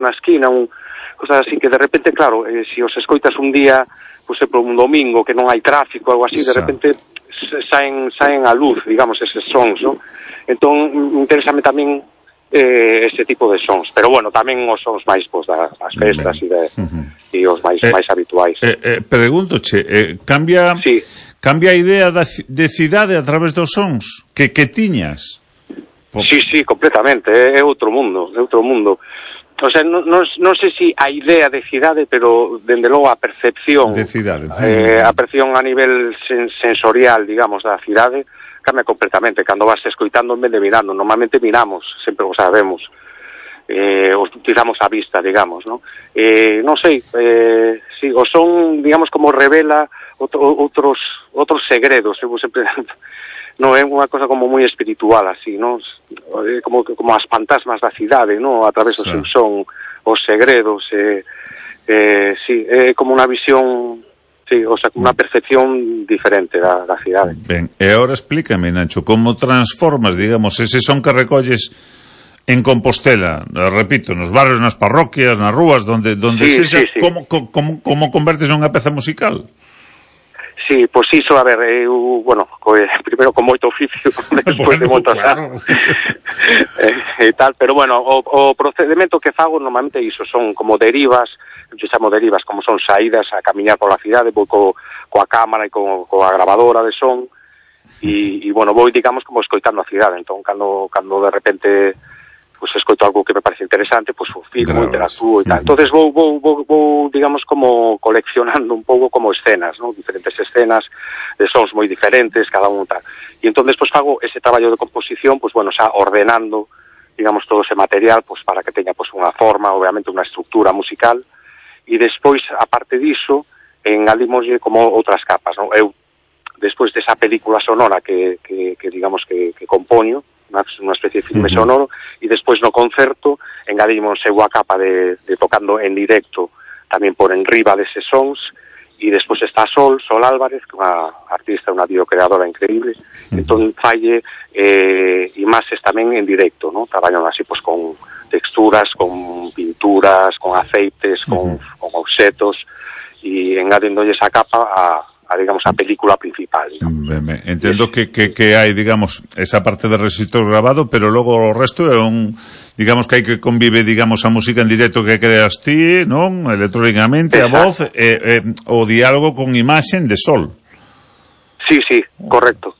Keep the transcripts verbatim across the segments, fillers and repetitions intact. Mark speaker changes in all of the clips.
Speaker 1: na esquina, un, cosas así que de repente, claro, eh, se si os escoitas un día, pois pues, por un domingo que non hai tráfico, algo así, de repente saen, saen a luz, digamos, eses sons, non? Entón, interésame tamén eh, ese tipo de sons, pero bueno, tamén os sons máis pois, das festas e de, uh-huh. e os máis,
Speaker 2: eh,
Speaker 1: máis habituais.
Speaker 2: Eh, eh, Preguntoche, eh, cambia
Speaker 1: sí.
Speaker 2: cambia a idea da, de cidade a través dos sons que, que tiñas?
Speaker 1: Por... Sí, sí, completamente, é, é outro mundo, é outro mundo. O sea, non, non, non sei se a idea de cidade, pero dende logo a percepción
Speaker 2: de cidade,
Speaker 1: eh, a percepción a nivel sen, sensorial, digamos, da cidade cambia completamente, cando vas escoitando en vez de mirando, normalmente miramos, sempre o sabemos, eh, utilizamos a vista, digamos, ¿no? Eh, non sei, eh, si, o son, digamos, como revela outro, outros outros segredos, eu sempre, non é unha cosa como moi espiritual, así, ¿no? Como, como as fantasmas da cidade, ¿no? A través do seu son, os segredos, eh, eh, si, é como unha visión... Sí, o sea, unha percepción diferente da, da cidade.
Speaker 2: Ben, e agora explícame, Nacho, como transformas, digamos, ese son que recolles en Compostela, repito, nos barrios, nas parroquias, nas rúas, donde, donde
Speaker 1: sí,
Speaker 2: sexa,
Speaker 1: sí, sí.
Speaker 2: Como, como, como convertes nunha peza musical?
Speaker 1: Sí, pois pues iso, a ver, eu, bueno, co, primeiro con moito oficio, despois bueno, de moitos claro. anos, e, e tal, pero bueno, o, o procedimento que fago normalmente iso, son como derivas, eu chamo derivas, como son saídas a camiñar pola cidade, vou co, coa cámara e co, coa grabadora de son, e, e bueno, vou, digamos, como escoitando a cidade, entón, cando, cando de repente pues escoito algo que me parece interesante, pues filmo, interactúo e tal. Entonces vou, vou, vou, vou, digamos, como coleccionando un pouco como escenas, ¿no? Diferentes escenas de sons moi diferentes, cada un tal. E entón despois fago ese traballo de composición, pues bueno, xa ordenando, digamos, todo ese material, pues para que teña pues unha forma, obviamente unha estructura musical, e despois, aparte diso, engadimoslle como outras capas, ¿no? Eu, despois desa película sonora que, que, que digamos, que, que compoño, unha especie de filme uh-huh. sonoro, e despois no concerto engadimos unha capa de, de tocando en directo tamén por enriba deses sons, e despois está Sol, Sol Álvarez, que é unha artista, unha videocreadora increíble, uh-huh. entón falle eh, imaxes tamén en directo, ¿no? Traballan así pues con texturas, con pinturas, con aceites, con, uh-huh. con obxetos, e engadindolle esa capa a a, digamos, a película principal, digamos.
Speaker 2: Ben, ben. Entendo que, que, que hai, digamos, esa parte de rexistro grabado, pero logo o resto é un, digamos, que hai que convive, digamos, a música en directo que creas ti, non? Electrónicamente, a voz, e, e, o diálogo con imaxen de Sol.
Speaker 1: Sí, sí, correcto.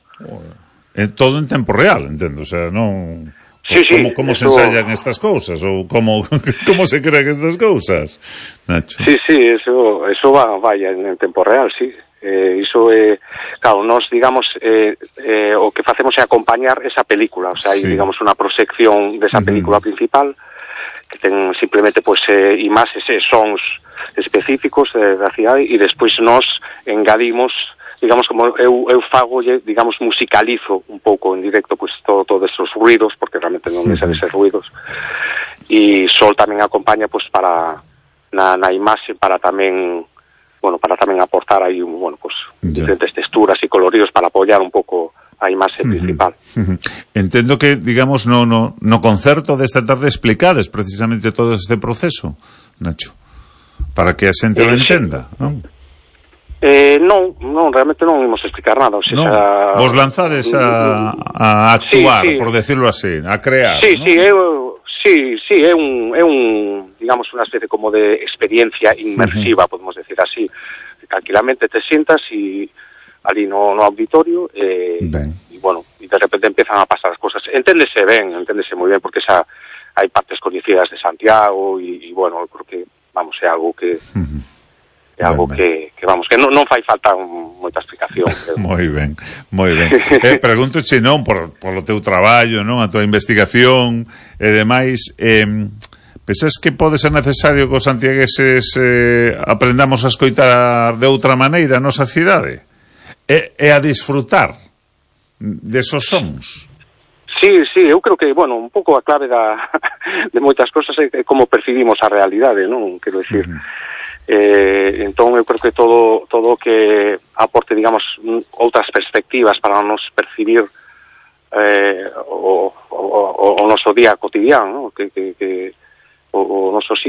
Speaker 2: É todo en tempo real, entendo, o sea, non...
Speaker 1: Sí, sí,
Speaker 2: como, como
Speaker 1: eso...
Speaker 2: se ensayan estas cousas, ou como, como se crean estas cousas, Nacho?
Speaker 1: Sí, sí, eso, eso va, vaya en, en tempo real, sí. Eh, iso é, eh, claro, nos, digamos, eh, eh, o que facemos é acompañar esa película, o sea, hai, sí. digamos, unha proxección desa película uh-huh. principal, que ten simplemente, pois, pues, eh, imaxes e sons específicos eh, da cidade, e despois nos engadimos, digamos, como eu, eu fago, digamos, musicalizo un pouco en directo, pois, pues, todo, todos esos ruidos, porque realmente non me uh-huh. eses ruidos, e Sol tamén acompaña, pois, pues, para, na, na imaxe, para tamén, bueno, para tamén aportar aí, bueno, pues, diferentes texturas e coloridos para apoiar un pouco a imaxe uh-huh. principal.
Speaker 2: Uh-huh. Entendo que, digamos, no, no, no concerto desta tarde explicades precisamente todo este proceso, Nacho, para que a xente eh, lo entenda, sí. non?
Speaker 1: Eh, non, non, realmente non imos explicar nada, o sea,
Speaker 2: no,
Speaker 1: xa...
Speaker 2: vos lanzades a, a actuar, sí, sí. por decirlo así, a crear,
Speaker 1: sí,
Speaker 2: ¿no?
Speaker 1: Sí, eu... Sí, sí, é un, é un, digamos, unha especie como de experiencia inmersiva, uh-huh. podemos decir así. Tranquilamente te sientas e ali no, no auditorio e, e, bueno, e de repente empezan a pasar as cosas. Enténdese ben, enténdese moi ben, porque xa hai partes coñecidas de Santiago e, e bueno, creo que, vamos, é algo que... Uh-huh. É algo ben, que, que, vamos, que non, non fai falta un, moita explicación.
Speaker 2: Moi ben, moi ben. eh, Pregúntoche, non, por, por o teu traballo, non, a tua investigación e demais, eh, pensas que pode ser necesario que os santiagueses eh, aprendamos a escoitar de outra maneira a nosa cidade? E, e a disfrutar desos sons?
Speaker 1: Sí, sí, eu creo que, bueno, un pouco a clave da, de moitas cosas é como percibimos a realidade, non? Quero dicir... Uh-huh. Eh, entón eu creo que todo todo que aporte, digamos, outras perspectivas para nos percibir eh, o, o, o, o noso día cotidiano, ¿no? que, que, que o, o noso sitio